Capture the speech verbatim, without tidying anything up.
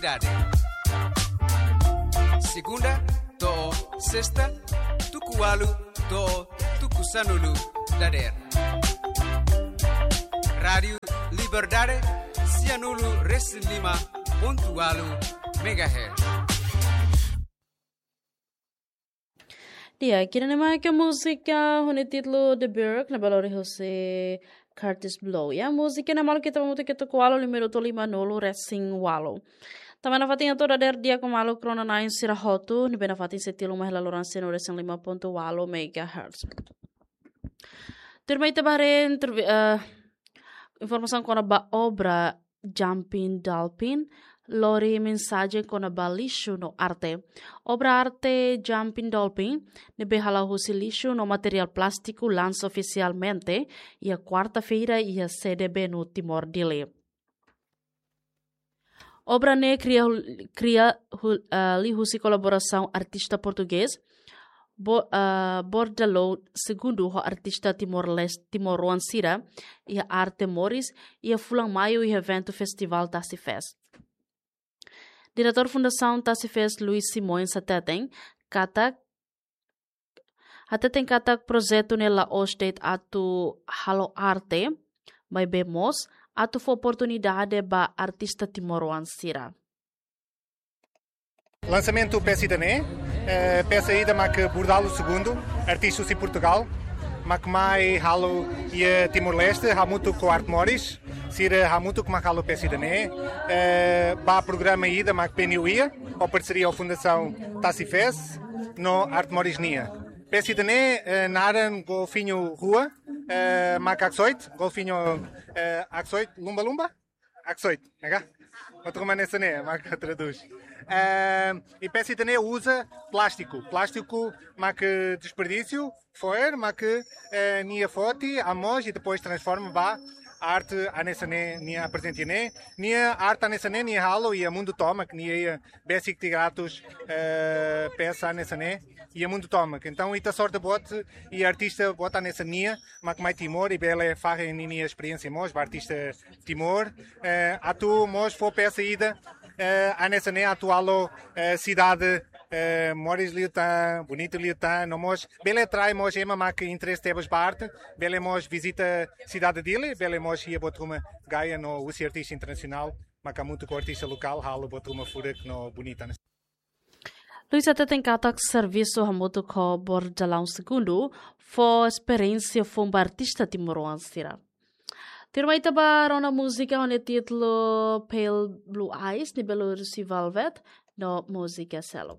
Dade. Segunda to'o sesta, tuku ualu to'o tuku sanulu dadeer. Rádiu Liberdade, sianulu resin lima pontu ualu megahertz. Di'ak, ida-ne'e mak múzika ho nia títulu The Berg, ne'ebé lori husi Kurtis Blow. Ya, múzika ne'e maluk ita hamutuk to'o ualu, minutu lima nulu resin ualu. Tanba nafatin atu dadeer di'ak ho maluk rona-na'in sira hotu, ne'ebé nafatin sei tilun mai hela loron sianulu resin lima pontu ualu megahertz. Tuirmai ita bá haree intervi-, eh, informasaun kona-ba obra Jumping Dolphin, lori mensajen kona-ba lixu no arte. Obra arte Jumping Dolphin, ne'ebé hala'o husi lixu no materiál plástiku, lansa ofisialmente iha kuarta-feira iha sede Benu, Timor, Dili. Obra ne'e kria, kria hu-, ah, liuhusi kolaborasaun artista portugés, Bo-, ah, Bordalou Segundu ho artista Timor-Leste, timoroan sira, iha Arte Moris, iha fulan Maiu iha eventu Festivál Tasi Fest. Diretór Fundasaun Tasi Fest, Luis Simões, hateten katak, hateten katak projetu ne'e la'ós de'it atu halo arte, maibé mós atu fó oportunidade ba artista timoroan sira. Lansamentu peça ida-ne'e, eh, peça ida mak Bordalou Segundu, artista husi Portugal, mak mai halo iha Timor-Leste, hamutuk ho Arte Moris, sira hamutuk mak halo peça ida-ne'e, eh, ba programa ida mak P N U iha, ho parseria ho Fundasaun Tasi Fest, no Arte Moris nian. Peça ida-ne'e, eh, naran Golfinho Rua, eh, mak haksoit, Golfinho, eh, haksoit, lumba-lumba? Haksoit, ne'e ka? Atu kemana sene, mak tradús. Ehm, i peça ida-ne'e uza plástiku. Plástiku mak desperdísiu, fo'er, mak, eh, nia foti, amoos, i depois transforma ba arte hanesan ne'e, nia aprezenta ne'e. Nia arte hanesan ne'e, nia halo iha mundu tomak, nia iha besik tiga ratus, eh, peça hanesan ne'e, iha mundu tomak. Entaun, ita sorte boot, i artista boot hanesan nia, mak mai Timor, i bele fahe ninia esperiénsia mós, ba artista Timor, eh, atu mós fó peça ida, eh, hanesan ne'e atu halo, eh, sidade, eh, moris liután, bonitu liután, no mós, bele atrai mós ema mak interese tebes ba arte, bele mós vizita sidade Dili, bele mós iha buat ruma Gaia no husi artista internasionál, mak hamutuk ho artista lokál, halo buat ruma furak no bonita. Luis hateten katak servisu hamutuk ho Bordalou Segundu fó esperiénsia foun ba artista timoroan sira. Tuirmai ita bá rona múzika ho nia títulu Pale Blue Eyes, ne'ebé lori husi Velvet, no múzika seluk.